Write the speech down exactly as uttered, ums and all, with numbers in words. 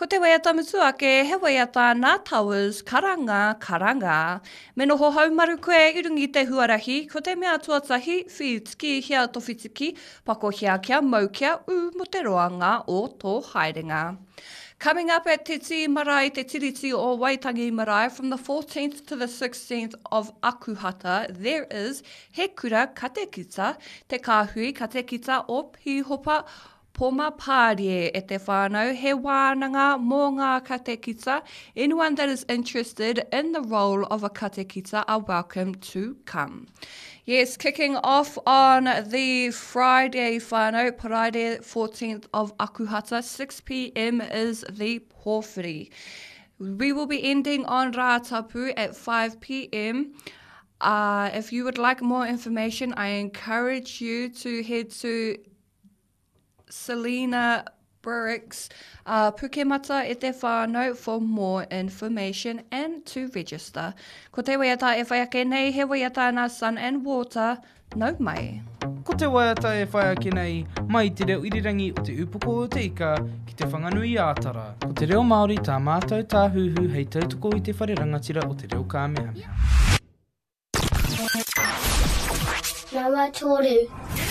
Ko te waiata mutu ake, he waiata nā Towers, karanga, karanga. Me noho haumaru koe i runga i te huarahi, ko te mea tuatahi, whitiki hia to whitiki, pakohia kia mau kia ū mo te roanga o tō haerenga. Coming up at Te Tii Marae, Te Tiriti o Waitangi Marae, from the fourteenth to the sixteenth of Akuhata, there is He Kura Katekita, Te Kāhui Katekita o Pīhopa Poma Pārie e te whānau, he wānanga mō ngā katekita. Anyone that is interested in the role of a katekita are welcome to come. Yes, kicking off on the Friday whānau, Paraire fourteenth of Akuhata, six p m is the pōwhiri. We will be ending on Rātapu at five p m Uh, if you would like more information, I encourage you to head to Selena Brooks, uh, Pukemata e te whānau for more information and to register. Ko te waiata e whai ake nei, he waiata nā Sun and Water, nau mai. Ko te waiata e whai ake nei, mai te reo irirangi o te upoko o te ika ki te Whanganui ā-Tara. Ko te reo Māori tā mātou tāhuhu hei tautoko i te whare rangatira o te reo kāmehameha. Nama toru.